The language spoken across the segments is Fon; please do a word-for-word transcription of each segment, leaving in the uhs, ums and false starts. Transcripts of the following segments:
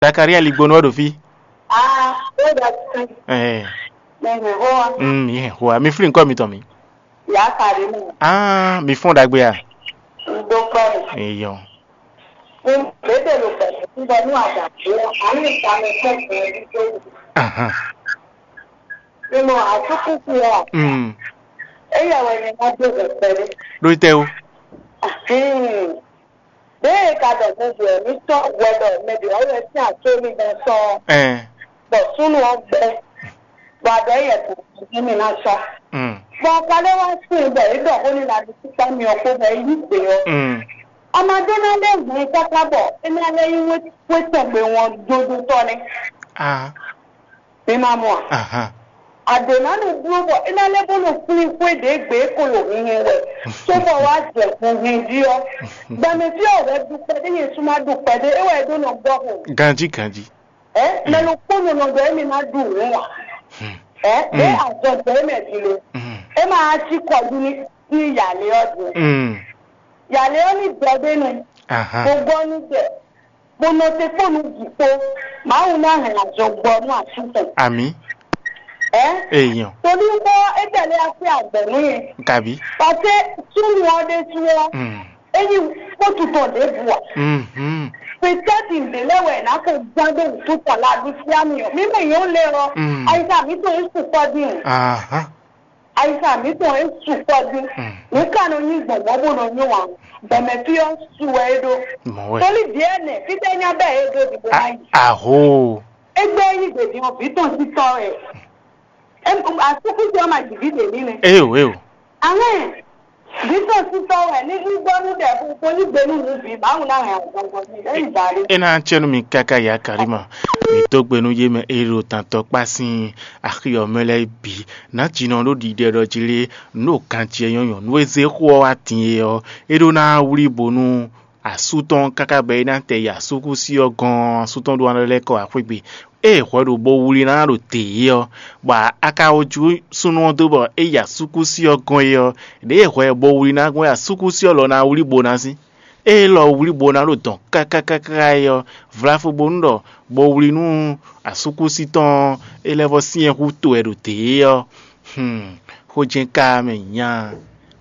Zakaria Ligbonu wɛ ɖo fí. Ah, ó ɖa tún. Ɛɛ. Mɛ mi hó wa. Mm, mi hɛn hoa. Mi flin kɔ mi tɔn mi. Ya ka ɖe mi. Ah, mi fɔn ɖagbe a? N dó kpɔ mi. Eyɔ. N bébè lo pẹ̀lú n bɔ nú àgbà tó. Àmì ìta mi fẹ́ fún ẹbí tó. Ahan. Mi mọ àtúkù sí wa. Mm. Eyɛ wɛ ni ná dó bẹ̀rẹ̀ pẹ̀lú. Lórí tẹ́ o. Ahin. Ɖěe ka ɖɔ mɛ ɖě ɔ́ ní sɔ́ hwɛ ɖɔ mɛ ɖě ɔ́ wɛ sín atómigán sɔ́ ɔ́, Ɛn. Bɔ súnnu ɔ́ gbɛ, bɔ aɖɔ yɛ kò ní mì ná sɔ́. Mm. Bɔ Kalé wá sin bɔ é ɖɔ xó n'i ná ɖi síkpá myɔ kpó bɔ é yí gbe ɔ́. Mm. Amadó ná lɛ́ hun káká bɔ é ná lɛ́ yí wé tɔn gbe wɔn dodotɔ́ nɛ́. Ah. Mi ma mɔ a? Ahan. Àdè ná nɔ bló bɔ é ná lɛ́ bó nɔ flín xwé ɖě gbe é ko ɖo hinhɛn wɛ, cóbɔ wá jɛ hunhɛn jí ɔ́. Gbɛmɛ fí ɔ́ wɛ ɖu kpɛɖé Jezu má ɖu kpɛɖé, é wɛ é ɖó nɔ gbɔ xo. Ganjí ganjí. Ɛ mɛ ɖokpó nɔ nɔ ɖɔ émí má ɖu nǔ ǎ. Ɛ ɖé azɔn jɛ émɛ din lo. É má cí kɔ ɖu ní ní yǎlé ɔ́ din. Mm. Yǎlé ɔ́ ní dɔ ɖé nu. Ahan. Gbogbo ɔ́ ní jɛ. Bó nɔ te kpó nǔ bǐ kpó. Mawu ná hɛn azɔn gbɔ nú asú tɔn. Amǐ. Ɛ? Èèyàn. Torí bó é tɛ̀lé así àgbẹ̀ nú yẹn. Gàbí. Pàṣẹ súnmù ọ́ dé sú ọ́. Mm. É yí kótó tɔn ɖěbǔ ǎ. Mhm. Pètẹ́tì ǹdè lɛ́ wɛ è nǎ ko gbán dó wǔtú tɔn lɛ aɖusí amì ɔ́. Mǐ mɛ yǒ lɛ ɔ́, Mm. Ayisa mǐtɔn é su kɔ́ dín o. Aha. Ayisa mǐtɔn é su kɔ́ dín. Mm. Nǔ ka nɔ nyí gbɔ̌ngbɔ́n bó nɔ nyó ǎ. Gbɛmɛ fí ɔ́ su wɛ é ɖó. Mɔ̌ wɛ. Tóli vǐ ɛnɛ, fítɛ́ nyá bɛ́ é ɖó dìbò A- ná yi. Aho. Égbé é yí gbèdì ɔ́, vǐ tɔn sí tɔ́ wɛ. Em, asúkúsi ɔ́ ma ji vǐ ɖě ní nɛ́. Eo, eo. Amɛ́. Vǐ tɔn sí tɔ́ wɛ ní ní gbɔ́ nú ɖɛ fún kó ní gbe nú nǔ bǐ, Mawu ná hɛn azɔn gbɔn ní lɛ́ yi ba ɖé. É ná cɛ́ nú mi káká ya Kalíma. Mi dó gbe nú yé mɛ e ɖo tantɔ kpá sín axi ɔ́ mɛ lɛ́ɛ bǐ. Nǎ jǐnɔ ɖó ɖiɖɛ ɖɔ jí lé, nǔ ɖo kan ce nyɔ́ nyɔ̌nu e zé xó ɔ́ wá din é ɔ́, é ɖó ná wlí bo nú asú tɔn káká bɔ é ná tɛ yi asúkúsi ɔ́ gɔ́n, asú tɔn ɖó ná lɛ́ kɔ wá xwé gbe. Ée hwɛ ɖo bo wlí ná ɖo dě é ɔ́, bɔ a ka wǒ jú súnnu ɔ́ dó bɔ é yi asúkúsi ɔ́ gɔ́n é ɔ́, ɖěe hwɛ bo wlí ná gbɔn é asúkúsi ɔ́ lɔ ná wlí bo ná sín. Ée lɔ wlí bo ná ɖo dɔn káká káká é ɔ́, vlafu bónú ɖɔ bo wlí nú asúkúsi tɔn ɔ́, é lɛ́ vɔ́ syɛ́n hú to wɛ ɖo dě é ɔ́, Hmm, xó jɛ́n ka mɛ nya,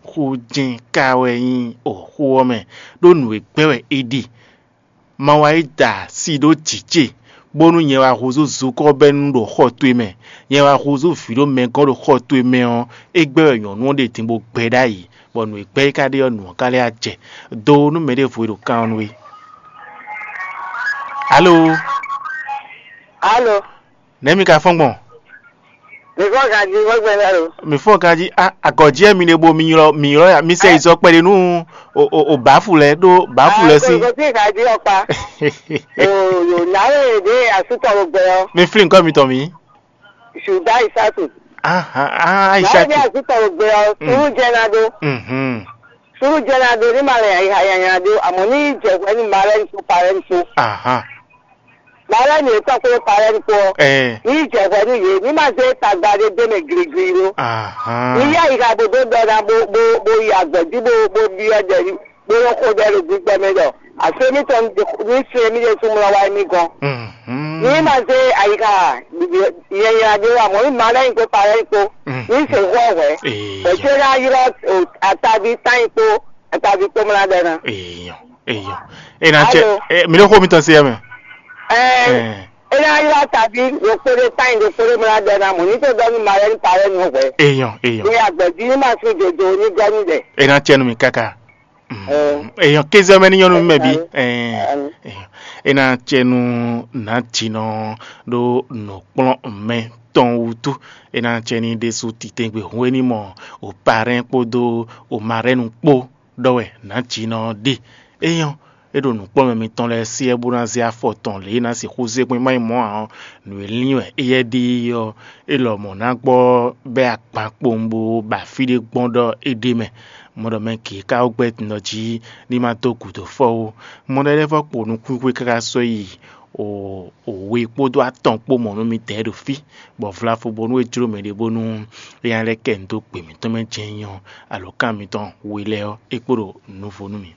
xó jɛ́n ka wɛ nyí o xó ɔ́ mɛ, ɖó nǔ e gbɛ́ wɛ é ɖe. Ma wá yi da asi ɖó jǐ ce, bónú nyɛ wá húzú zukɔ́ bɛ́ nú ɖo xɔ towe mɛ, nyɛ wá húzú vǐ ɖó mɛ gɔ́n ɖo xɔ towe mɛ ɔ́, é gbɛ́ wɛ nyɔ̌nu ɔ́ ɖe din bó gbɛ ɖ'ayǐ, bɔ nǔ e gbɛ́ é ka ɖe ɔ́, nǔ ɔ́ ka lɛ́ wá jɛ. Do nú mɛɖěvo e ɖo kan ɔ́ nú we. Alo? Alo? Nɛ̌ mi ka fɔ́n gbɔn? Mi fɔ́n ganjí, xwé gbɛ́ lɛ́ɛ lo. Mi fɔ́n ganjí, a agɔ̌ jí wɛ mi ɖe bo mi ylɔ́ mi ylɔ́ ya, mi sɛ yi zɔ kpɛɖé nú o o o bǎfu lɛ́ɛ ɖó bǎfu lɛ́ɛ sín. Kò sí ganjí ɔkpa. O yǒ ná lè dé asútɔ gbogbo ɔ. Mi flín nǔkɔ mitɔn mǐ. Ṣùgbọ́n ìsàtù. Aha, aha, Láì ní ìsàtù. Asútọ gbogbo ɔ, sùúrù jẹ́ ná dó. Mhm. Sùúrù jẹ́ ná dó ní màá lè yàyà ná dó, àmọ́ ní ìjẹ̀kú ẹni màá rẹ́ ní kó parẹ́ ní kó. Aha. Màá rẹ́ ní ètò kó parẹ́ ní kó. Ẹ. Ní ìjẹ̀kú ẹni yé, ní màá dé tagba dé dé mɛ girigiri ló. Aha. Ní yá ìka bó dó dọ́ ná bó bó bó yà gbẹ̀dú bó bó bí ọ̀dẹ̀ ní. Bó lɔ xo ɖɛ ɖo gbígbɛ mɛ ɖɔ àsé mítɔn ní sin mí ɖésú mlɔ wá mí gɔ́n. Mhm. Ní ma zé ayixa nyanya ɖé wá mɔ̌, ní ma lɛ́ nyí kpó pa lɛ́ nyí kpó, Mhm. ní se xó hwɛ̌. Ee. Bɛ̌ cé ná ylɔ́ o, ataví tányi kpó ataví kpó mlá ɖɛ ná. Eyɔ, eyɔ. E na cɛ Alo. E, mi ɖo xó mitɔn se yɛ mɛ. Ɛɛ, Ɛɛ. E ná ylɔ́ ataví ɖokpó ɖé tányi ɖokpó ɖé mlá ɖɛ ná mɔ̌, ní tó ɖɔ ní ma lɛ́ ní pa lɛ́ ní hwɛ̌. Eyɔ, eyɔ. Ní agbɛ̌ jí ní ma sín dodo ní gɔ́ ní ɖɛ. E na cɛ nú mi káká. Mm. Èèyàn kéze ɔ́ mɛ ní nyɔ́ nú mì mɛ bǐ. Ɛɛ, èèyàn. É ná cɛ nú nǎjínɔ ɖó nǔkplɔ́nmɛ tɔn wútu. É ná cɛ ní ɖésú titɛngbé hǔn é ní mɔ o parɛ́n kpódó o marɛ́nu kpó ɖɔ wɛ nǎjínɔ ɔ́ ɖe. Éyɔ́, é ɖo nǔkplɔ́nmɛ mitɔn lɛ́ɛ syɛ́ bó ná zé afɔ tɔn lě e é ná sixú zé gbɔn é má nyí mɔ̌ ǎ ɔ́, nǔ e lín wɛ éyɛ́ ɖe é ɔ́, é lɔmɔ̌ ná gbɔ bɛ́ akpan kpowun bó ba fí ɖé gbɔn ɖɔ é ɖ'é mɛ. Mɔ̌ ɖɔ mɛ gěgé ka wú gbɛ́ din ɖɔ jí ní ma dó gǔdo fɔ ó. Mɔ̌ ɖɔ é lɛ́ vɔ́ kpo nukúnxwé káká sɔ́ yi o we kpódó atɔn kpó mɔ̌ nú midɛɛ ɖo fí, bɔ vlafu bónú é jló mɛɖé bónú é nya lɛ́ kɛ nu dó gbe mǐtɔn mɛ jɛ́n nyí ɔ́, alǒkan mitɔn we lɛ́ɛ ɔ́, é kpo ɖo nuvo nú mì.